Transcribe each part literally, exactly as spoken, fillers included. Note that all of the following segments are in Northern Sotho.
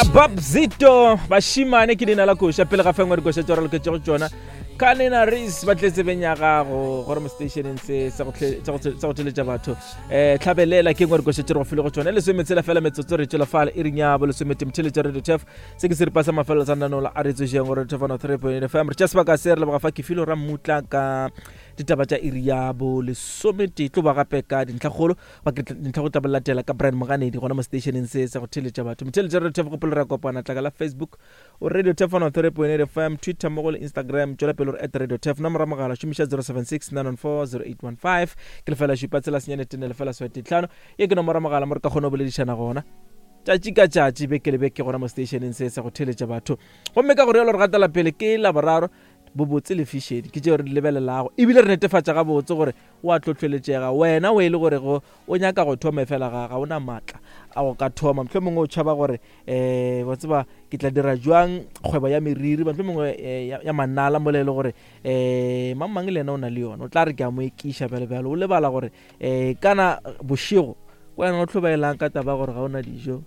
Babzito bašimane ke leina la koša pele ga fengwe dikoša tse re loketšego tšona ka nena ris ba tletsebeng ya gago gore mo stationeng se sa go tle- sa go sa go theletša batho um tlhabelela ke ngwe dikoša tse re go file go tšona lesometshela fela metsotso re tšwela fale e reng ya bo lesomete motheletša radio tef se ke seripa sa mafelelo sa nanola a re tsošeng gore tef one three point eight fm re tša sebaka se re leboga fa ke filo ra mmutla ka ditaba tša iri ya bo lesometee tlo ba gape ka dintlhakgolo ba ke dintlha go tla bo latela ka Brian Moganedi gona mo stationeng se sa go theletša batho motheletša radio tef gopolo re a kopana tlaka la Facebook o radio tef one three point eight fm Twitter mmogo le Instagram tšwela pele gore at radio tef nomoro ya mogala šomiša zero seven six nine one four zero eight one five ke lefela šupa tsela senyane tene lefela swete tlhano ye ke nomoro ya mogala mo re ka kgona go boledišana gona tšatši ka tšatši beke le beke gona mo stationeng se sa go theletša batho gomme ka gore yalo re gatela pele ke laboraro bobotse le fišedi ke tšeo re di lebelelago ebile re netefatša gabotse gore o a tlotloletšega wena o e le gore go o nyaka go thoma fela ga ga ona maatla a go ka thoma motlho mongwe o tšhaba gore um wa tseba ke tla dira jwang kgwebo ya meriri motlho mongwe eh, ya ya manala mola e le gore um mang mang le yena o na le yona o tla re ke a mo ekiša bjalo bjalo o lebala gore um kana bošego ko wena o tlhobaelang ka taba ya gore ga o na dijo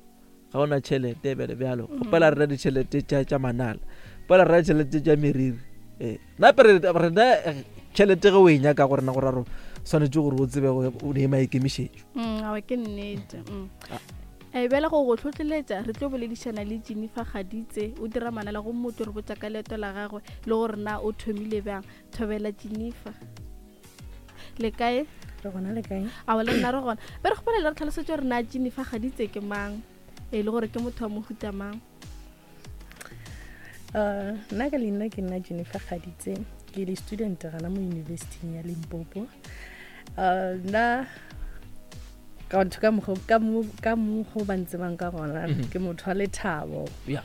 ga o na tšhelete bjalo bjalo kgopela rena ditšhelete tša tša manala kgopela rena ditšhelete tša meriri ee nape re rena eh, tšhelete ge o e nyaka go rena gore ro swanetše gore o tsebe go- o ne maikemišetšo Mm, awa ke nnete mm. e bjale go go tlhotlheletša re tlo boledišana le Jennifer Gaditse o dira manala go motho re botša ka leeto la gagwe le gore na o thomile bjang thobela Jennifer le kae re gona le kae awa le nna re gona be re kgopela le re tlhalosetse gore na Jennifer Gaditse ke mang e le gore ke motho wa mohuta mang Uh, nna ka leina ke nna Jennifer Gaditse ke le student gana mo universityng ya Limpopo uh, nna ka ntho ka mokgo- ka mo- ka mokgo ba ntsebang ka gona Mhm. ke motho wa lethabo ya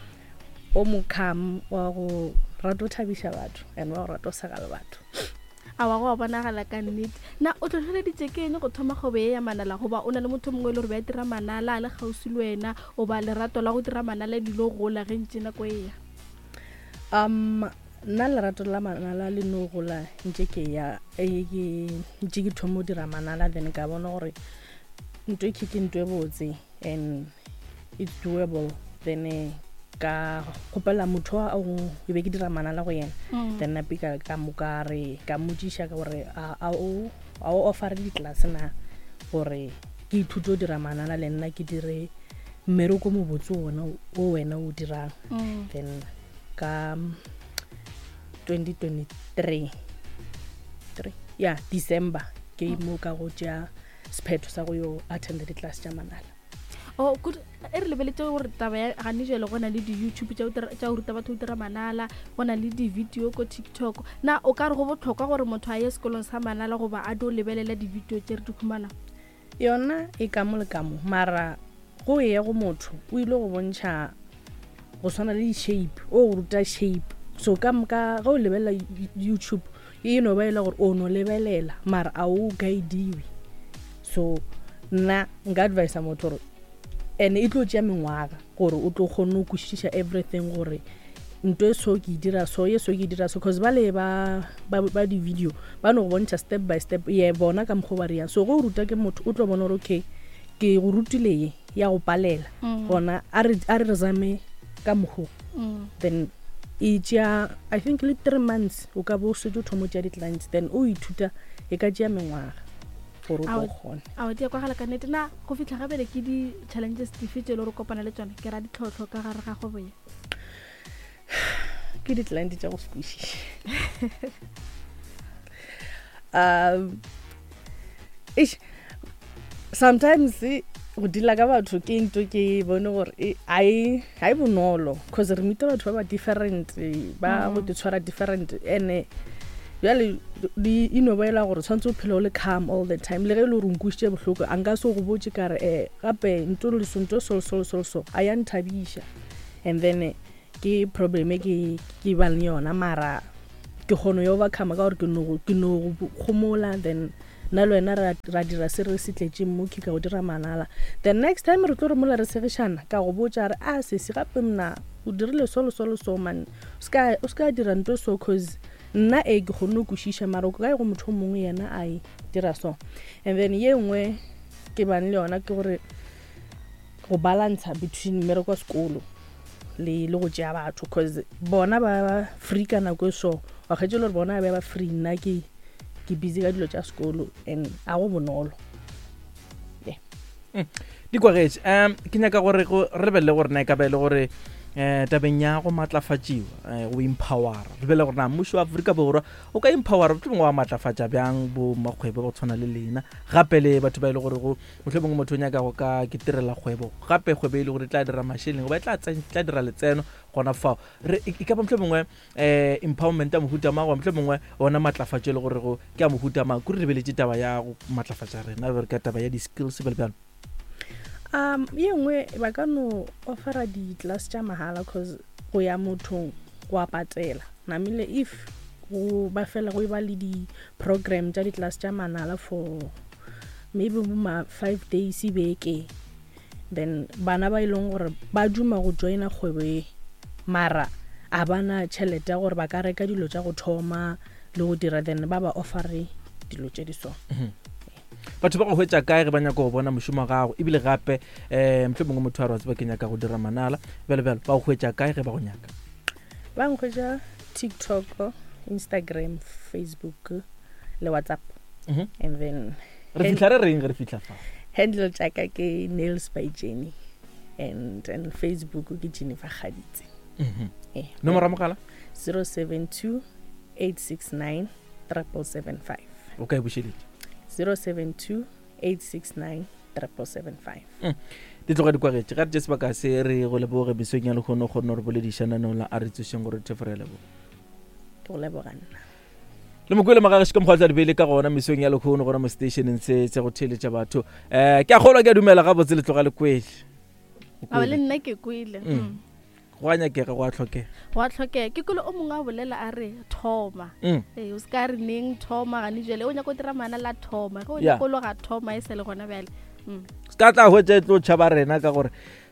o mocalm wa go rata go thabiša batho and wa go rata go sega le batho awa go a bonagala ka nnete na o tlhotlheleditše ke eng go thoma kgwebo ye ya manala goba o na le motho mongwe e le gore be a dira manala a le kgauswi le wena oba lerato la go dira manala le dilo gola ge ntše nako e ya um nna lerato la manala le no gola ntše ke ya eh, ke ntše ke thoma go dira manala then ka bona gore ntho e ke ntho e botse and it's doable then eh, ka kgopela motho a o e be ke dira manala go yena then nape ka ka mo ka re ka mmotšiša ka gore a a o a o offere di-class na gore ke ithute go dira manala le nna ke dire mmereko mobotse ona o wena o dirang Mm. then ka twenty twenty-three three ya December ke mo ka go tšea sephetho sa go yo attenda di-class tša manala o kudu e re lebeletse gore taba ya gane jale go na le di-YouTube tša go dira- tša go ruta batho go dira manala go na le di-video ko TikTok na o ka re go botlhokwa gore motho a ye sekolong sa manala goba a dio lebelela di-video tše re di humanang yona e ka mo le ka mo mara go ye go motho o ile go bontšha go swana le di-shape o go ruta shape so ka ka ge o lebelela YouTube e no ba e le gore o no lebelela mara a o guidiwe so nna nka advisa motho gore and e tlo tšea mengwaga gore o tlo kgone go kwešiša everything gore nto e so ke e dira so ye so ke e dira so cause ba le ba ba, ba di-video ba no go bontšha step by step ye bona ka mokgwa o ba reyang so ge o ruta ke motho o tlo bona gore okay ke go rutile ye ya go palela gona a re a re re zame ka mokgo Mm. then e tšea i think le three months o ka bo o setse o thomo tšea di-clients then o ithuta e ka tšea mengwaga gore o tlo Ao. kgone ao di a kwagala ka nnete na go fitlha gabele ke di-challenges dife tse e le gore o kopana le tsone ke ra ditlhotlho ka gare ga kgwebo ye ke di-client tša go se kwešiše um eish, sometimes eh, go deala ka batho ke ntho ke bone gore e- ha e ha e bonolo cause re meeta batho ba ba different eh, ba go te tshwara different and bjale di e no ba ela gore tshwanetse o phele o le calm all the time le ge e le gore o nkwisitše bohloko a nka se go botse ka re um gape nto le so nto so so so so a ya nthabiša and then eh, ke problem e ke ke bang le yona mara ke kgone yo overcome ka gore ke no go- ke no go gomola then nna le wena ra ra dira se re se tletšeng mo ke ka go dira manala the next time re tlo re mola re segišana ka go botša re a sesi gape mna o dirile so le so le so man o ska o ska dira nto so cause nna e ke kgonne go kwešiša mara o kae go motho o mongwe yena a e dira so and then ye nngwe ke bang le yona ke gore go balancer between mmereko wa sekolo le le go tšea batho cause bona ba ba free ka nako e so wa kgetše le gore bona ba ba free nna ke ke busy ka dilo tša sekolo and a go bonolo di kwagetše um ke nyaka gore go re lebelele gore na e ka ba e le gore um tabeng ya go maatlafatšiwa um go empowera re lebelele gore na mmušo wa Afrika Borwa o ka empowera mohlomongwe wa maatlafatša bjang bo makgwebo go tshwana le lena gape le batho ba e le gore go mohlomongwe motho o nyaka go ka ke tirela kgwebo gape kgwebo e le gore e tla dira mašeleng goba e tla tsen- tla dira letseno gona fao re e e ka ba mohlomongwe um empowerment ya mohuta mang goba mohlomongwe ona maatlafatšo e le gore go ke a mohuta mang kore re lebeletše taba ya go maatlafatša rena re ka taba ya di-skills bjalo bjalo um ye nngwe ba ka no offera di-class tša mahala cause go ya mothong go a patela namile if go ba fela go e ba le di-program tša di-class tša manala for maybe bo ma five days beke then bana ba e leng gore ba duma go joina kgwebo e mara a bana tšhelete ya gore ba ka reka dilo tša go thoma le go dira then ba ba offere dilo tše di so batho ba go hwetša kae ge ba nyaka go bona mošomo wa gago ebile gape um mohlomongwe motho a re wa tseba ke nyaka go dira manala bjalo bjalo ba go hwetša kae ge ba go nyaka ba nkhwetša tiktok instagram facebook le whatsapp Mhm. and then re fihla re reng ge re fihla fa handle tšaka ke nails by jenny and and facebook ke jennifer gaditse Mhm. eh, nomoro ya mogala zero seven two eight six nine triple seven five o ka e bušeletša zero seven two eight six nine triple seven five di tloga di kwagetše ga re tše sebaka se re go leboge mesong ya lekgono kgonne gore boledišananong la a re tsošeng gore thefo re a leboga ke go leboga nna le mokwele magagešo ka mokgwa tla di beile ka gona mesong ya lekgono gona mo stationeng se se go theeletša batho um ke a kgolwa ke a dumela gabotse le tloga le kwele O aba le kwele. nna ke kwele Mm. Mm. go a nyakega go a tlhokega go a tlhokega ke kwele o mongwe a bolela a re thoma Mm. ee o se ka re neng thoma gane jale o nyaka o dira mana la thoma ge o Yeah. nyaka o loga thoma e sa le gona bjale Mm. se ka tla hwetša e tlo tšhaba rena ka gore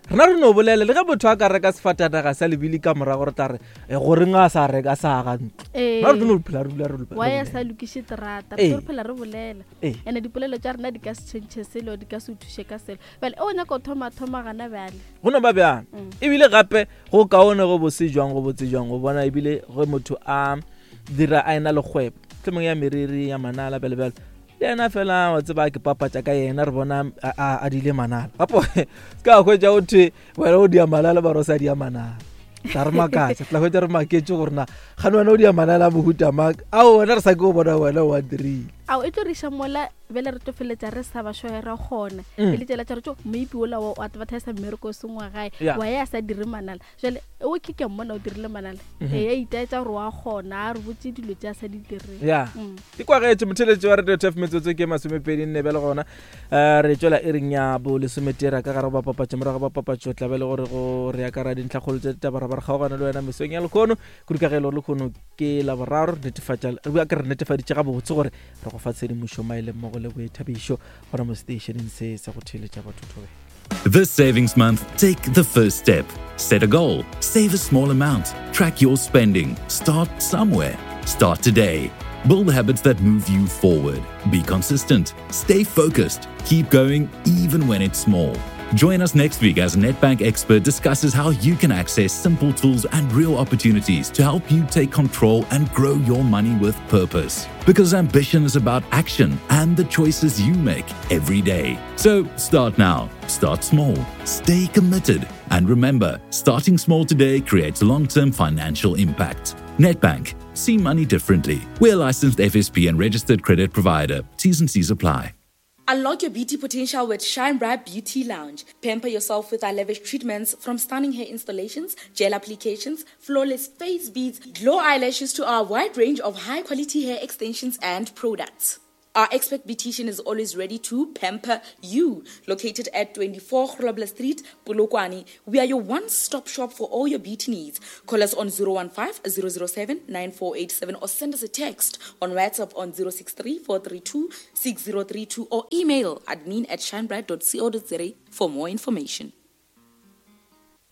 rena re no bolela le ge motho a ka reka sefatanaga sa lebile ka morago re tla re "Eh, goreng a sa reka sa aga ntlo Ee. rena re tlo no phela re dula re re wa ya bolela. sa lokiše terata Ee. re tlo re phela re bolela Ee. and-e dipolelo tša rena di ka se tšhentšhe selo di ka se o thuše ka selo bjale o nyaka o thoma thoma gana bjale go no ba bjang Mm. ebile gape go kaone go bose jwang go botse jwang go bona ebile ge motho a dira a ena le kgwebo tlhomong ya meriri ya manala bjalo bjalo le yena fela wa tseba ke papatša ka yena re bona a- a a dile manala gape se ka hwetša o thwe wena o dia manala ba re o sa dia manala tla re makatša tla hwetša re maketše gore na gane wena o dia manala a mohuta mang ao wena re sa ke o bona wena o a dirile ao e tlo re iša mola bjale re tlo feletša re sa ba šoe ra kgona Mm. e le tsela tša re tso maybe ola wa o advertisa mmereko o seng wa gae Yeah. wa ya a sa dire manala jale o ke ke mmona o dirile manala Mhm. ee a itaetša gore wa kgona a re botse dilo tše a sa di direng ya Mm. di kwagetše motheletši wa radio tf metsotso ke masomepedi nne bjale gona um re tswela e reng ya bo lesometera ka gare go bapapatšo morago ga bapapatšo tla be le gore go re ya ka ra dintlhakgolo tša ditaba ra ba re kgaogana le wena mesong ya lekgono kudu ka ge e le gore lekgono ke laboraro re netefatša re bua ke re netefaditše gabotse gore re go fa tshedimošo maele mmogo le boithabišo gona mo stationeng se sa go theeletša batho thobela This savings month, take the first step. Set a goal, save a small amount, track your spending, start somewhere. Start today. Build habits that move you forward. Be consistent, stay focused, keep going even when it's small. Join us next week as Netbank expert discusses how you can access simple tools and real opportunities to help you take control and grow your money with purpose. Because ambition is about action and the choices you make every day. So start now, start small, stay committed, and remember, starting small today creates long term financial impact. Netbank, see money differently. We're a licensed F S P and registered credit provider. T's and C's apply. Unlock your beauty potential with Shine Bright Beauty Lounge. Pamper yourself with our lavish treatments, from stunning hair installations, gel applications, flawless face beads, glow eyelashes to our wide range of high-quality hair extensions and products. Our expert beautician is always ready to pamper you. Located at twenty-four Grobler Street, Polokwane, we are your one-stop shop for all your beauty needs. Call us on zero one five, zero zero seven, nine four eight seven or send us a text on WhatsApp on zero six three, four three two, six zero three two or email admin at shinebright dot co dot za for more information.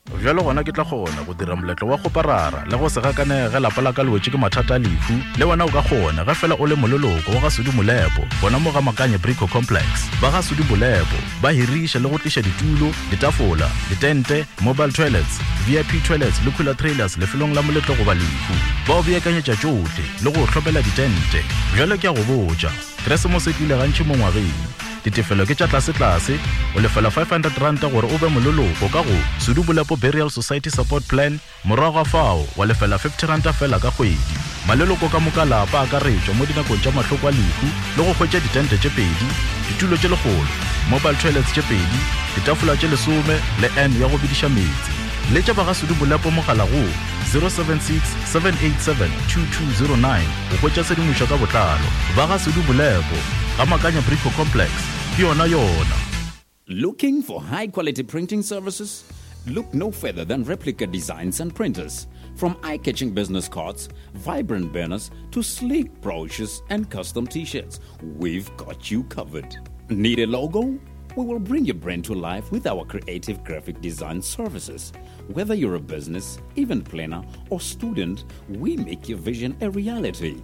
Bjalo gona ke tla kgona go dira moletlo wa kgoparara le go se gakanege ge lapa la ka le wetše ke mathata a lehu. Le wena o ka kgona ge fela o le moleloko wa ga Sudi Molepo gona mo ga Makanye Brico Complex. Ba ga Sudi Molepo ba hiriša le go tliša ditulo, ditafola, ditente, mobile toilets, V I P toilets le cooler trailers lefelong la moletlo goba lehu. Ba o beakanyetša tšohle le go hlopela ditente. Bjalo ke a go botša, Keresemose e tlile gantši mo ngwageng. Ditefelo ke tša tlase-tlase, o lefela five hundred rand gore o be moleloko ka go Sudi Molepo Burial Society Support Plan, morago ga fao wa lefela fifty rand fela ka kgwedi. Maleloko ka moka lapa a akaretšwa mo dinakong tša mahloko a lehu le go hwetša ditente tše pedi, ditulo tše lekgolo, mobile toilets tše pedi, ditafola tše lesome le N ya go bediša meetse. Letša ba ga Sudi Molepo mogala go zero seven six, seven eight seven, two two zero nine go hwetša tshedimošo ka botlalo. Ba ga Sudi Molepo ga Makanya Brico Complex, ke yona yona. Looking for high quality printing services? Look no further than Replica Designs and Printers. From eye-catching business cards, vibrant banners, to sleek brochures and custom t-shirts, we've got you covered. Need a logo? We will bring your brand to life with our creative graphic design services. Whether you're a business, event planner, or student, we make your vision a reality.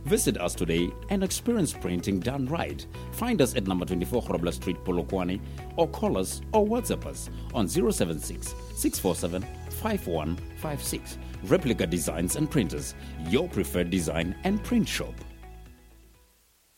Visit us today and experience printing done right. Find us at number twenty-four Grobler Street, Polokwane, or call us or WhatsApp us on zero seven six, six four seven, five one five six. Replica Designs and Printers, your preferred design and print shop.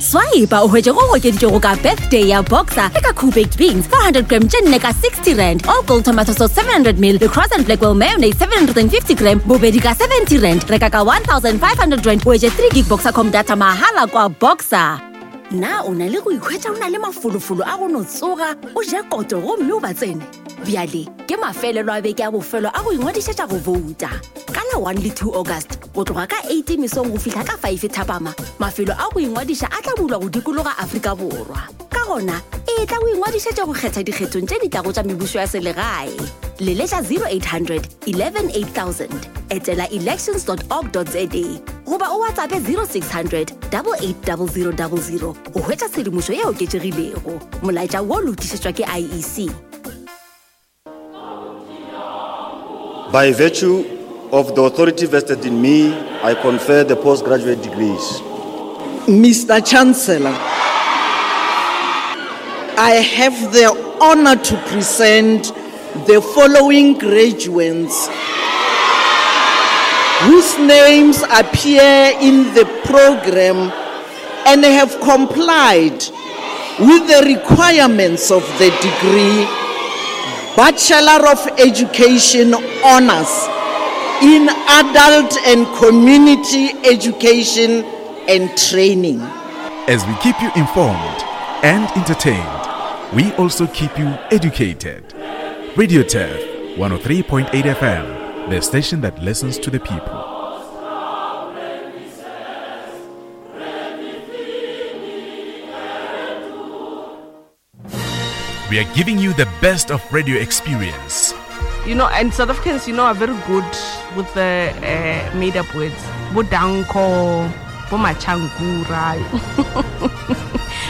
Swipe o hwetše go okeditšego ka birthday ya Boxer le ka Cool Baked Beans four hundred gram tše nne ka sixty rand, all gold tomato sauce seven hundred mil le Cross and Blackwell mayonnaise seven hundred and fifty gram bobedi ka seventy rand. Reka ka one thousand five hundred rand o hwetše three gig Boxercom data mahala kwa Boxer. Na o na le go ikhwetša o na le mafolofolo a go no tsoga o je koto gomme o ba tsene? Bjale ke mafelelo a beke a bofelo a go ingwadišetša go vouta. Ka la one le two August go tloga ka eight mesong go fihla ka five thapama, mafelo a go ingwadiša a tla bulwa go dikologa Afrika Borwa. Ka gona e tla go ingwadišetša go kgetha dikgethong tše di tlago tša mebušo ya selegae. Leletša zero eight hundred, eleven eight thousand, etela elections dot org dot za goba o WhatsApp zero six hundred, double eight double zero double zero go hwetša tshedimošo ye oketšegilego. Molaetša wo lokišetšwa ke I E C. By virtue of the authority vested in me, I confer the postgraduate degrees. Mister Chancellor, I have the honor to present the following graduates whose names appear in the program and have complied with the requirements of the degree Bachelor of Education Honors in Adult and Community Education and Training. As we keep you informed and entertained, we also keep you educated. Radio Turf one oh three point eight F M, the station that listens to the people. We are giving you the best of radio experience. You know, and South Africans, you know, are very good with the, uh, made-up words. Bodanko, Bomachankura.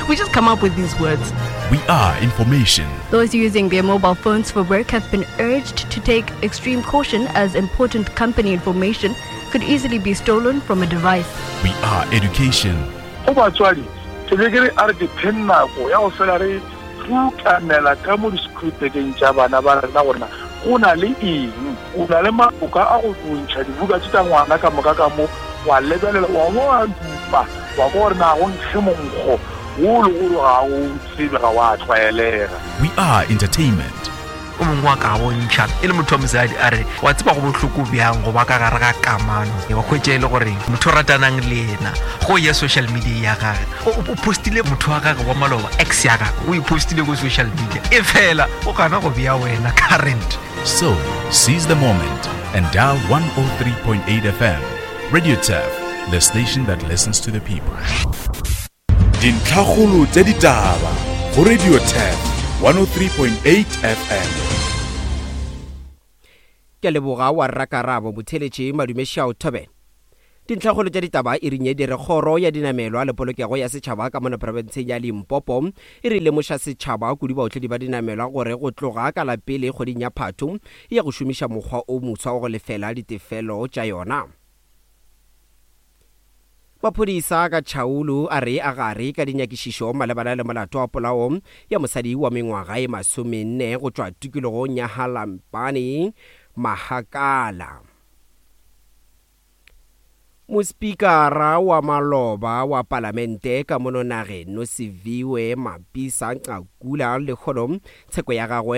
We just come up with these words. We are information. Those using their mobile phones for work have been urged to take extreme caution as important company information could easily be stolen from a device. We are education. Go batswadi, ke be ke re a re ke pheng nako ya go fela re rutanela ka mo di-scripteng tša bana ba rena gore na go na le eng, o na le maboka a go bontšha dibuka tše tša ngwana ka moka ka mo, wa lebelela, wa bo wa dupa, wa kwa gore na go nkge monkgo wo le gore ga o tsebe, ga wa tlwaelega. We are entertainment. O mongwe wa ka bontšha e le motho wa mosadi a re wa tseba go bohloko bjang go ba ka gare ga kamano, wa hwetša e le gore motho o ratanang le yena go ya social media ya gage, o, o postile motho wa gage wa maloba, ex ya gage, o e postile ko social media, e fela o gana go bea wena current. So seize the moment and dial one oh three point eight F M. Radio Turf, the station that listens to the people. Dintlhakgolo tša ditaba go Radio Turf one oh three point eight F M. Ke leboga wa Rakarabo Botheletše Madumešao Thobela. Dintlhakgolo tša ditaba e rinye di re kgoro ya dinamelwa le polokego ya setšhaba ka mona profenseng ya Limpopo e re lemoša setšhaba kudu baotledi ba dinamelwa gore go tloga ka la pele kgweding ya Phatho e ya go šomiša mokgwa o moswa wa go lefela ditefelo tša yona. Maphodisa ka Chaulu a re a gare ka dinyakišišo malebana le molato wa polao ya mosadi wa mengwaga e masomenne go tšwa tikologong ya Halampane Mahakala. Mospikara wa maloba wa palamente ka mono nageng Nosiviwe Mapisa Nqakula lekgono tsheko ya gagwe